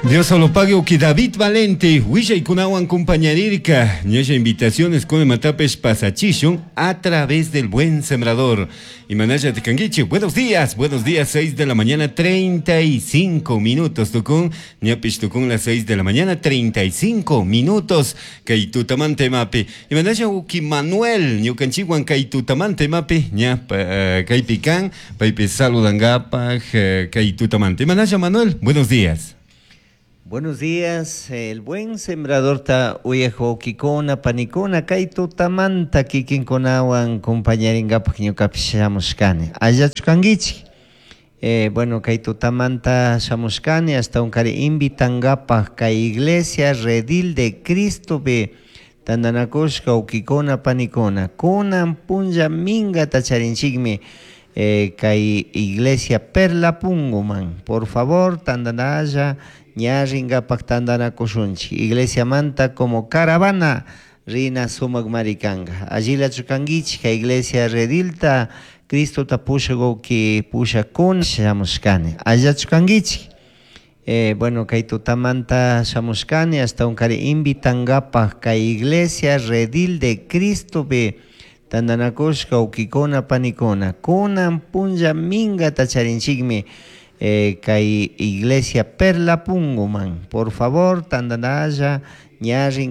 Dios solo pague uki David Valente, willaykunawan compañarirka, ñalla invitaciones con matapes pasachishun a través del buen sembrador. Y manaya tikanguichi, buenos días, buenos días, 6 de la mañana, 35 minutos, tukun, ñapish tukun las 6 de la mañana, 35 minutos, kay tutamante mapi. Y manaya uki Manuel, ñukanchiwan kay tutamante mapi, ña, kay pican, paypi saludangapaj, kay tutamante. Manaya Manuel, buenos días. Buenos días, el buen sembrador ta uyaj wawkikuna panikuna kay tutamanta kikinkunawan compañaringapak ñukapish shamushkani. Allachu kankichik? Bueno, kay tutamanta shamushkani ashtawankari invitangapak kay iglesia Redil de Cristopi tantanakushka wawkikuna panikuna. Kunan punlla minkata charinchikmi kay iglesia Perla Punguman. Por favor, tantanalla ña ringapak tantanakushunchik. Iglesiamanta como caravana rina sumak kanka. Allilachu kankichik kay iglesia Redilta Cristota pushak wawki pushakuna shamushkani. Allachu kankichik? Bueno, kay tutamanta shamushkani ashtawankari invitangapak kay iglesia Redil de Cristopi tantanakushka wawkikuna panikuna. Kunan punlla minkata charinchikmi kay iglesia Perla Punguman. Por favor, tantanalla ña ringapak.